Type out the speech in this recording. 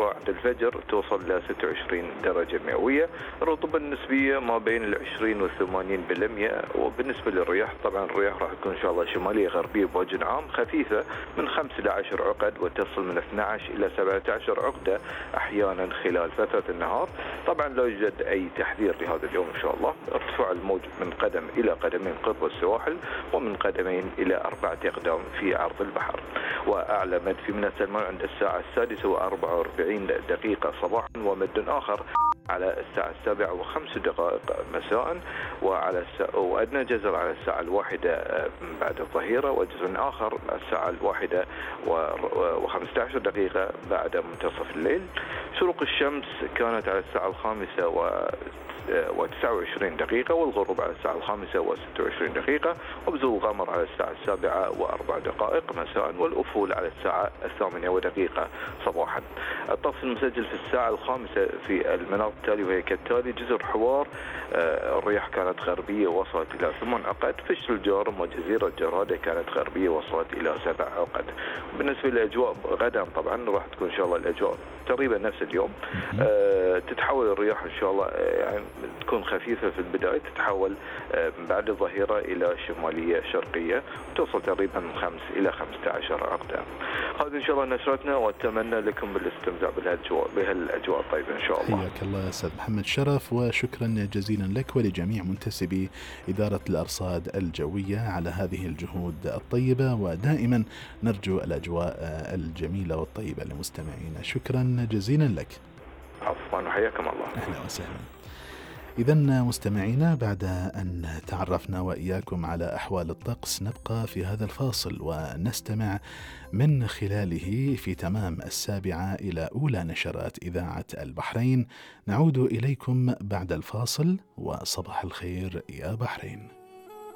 الصغرى عند الفجر توصل إلى 26 درجة مئوية. الرطوبة النسبية ما بين 20 و 80%. وبالنسبة للرياح طبعا الرياح راح تكون إن شاء الله شمالية غربية بوجه عام خفيفة من 5 إلى 10 عقد، وتصل من 12 إلى 17 عقدة أحيانا خلال فترة النهار. طبعا لا يوجد أي تحذير لهذا اليوم إن شاء الله. ارتفاع الموج من قدم إلى قدمين قرب السواحل، ومن قدمين إلى 4 أقدام في عرض البحر. وأعلى مد في ميناء سلمان عند الساعة 6:44 صباحا، ومد آخر على الساعة 7:05 مساء، وأدنى جزر على الساعة 1 بعد الظهيرة، وجزر آخر الساعة 1:15 بعد منتصف الليل. شروق الشمس كانت على الساعة 5:29، والغروب على الساعة 5:26، وبزول القمر على الساعة 7:04 مساء، والأفول على الساعة 8:01 صباحا. الطقس المسجل في الساعة 5 في المناطق التالية وهي كالتالي: جزر حوار الرياح كانت غربية وصلت إلى 8 عقد. فشل الجارم وجزيرة جرادة كانت غربية وصلت إلى 7 عقد. بالنسبة للأجواء غدا طبعا راح تكون إن شاء الله الأجواء تقريبا نفس اليوم. تتحول الرياح إن شاء الله يعني تكون خفيفة في البداية، تتحول بعد الظهيرة إلى شمالية شرقية، توصل تقريبا من 5 إلى 15 عقدة. هذه إن شاء الله نشرتنا، وأتمنى لكم بالاستمتاع بهالأجواء الطيبة إن شاء الله. حياك الله أستاذ محمد شرف، وشكرا جزيلا لك ولجميع منتسبي إدارة الأرصاد الجوية على هذه الجهود الطيبة، ودائما نرجو الأجواء الجميلة والطيبة لمستمعينا. شكرا جزيلا لك. عفوا وحياكم الله. أهلا وسهلا. إذن مستمعينا، بعد أن تعرفنا وإياكم على أحوال الطقس، نبقى في هذا الفاصل ونستمع من خلاله في تمام 7 إلى أولى نشرات إذاعة البحرين. نعود إليكم بعد الفاصل، وصباح الخير يا بحرين.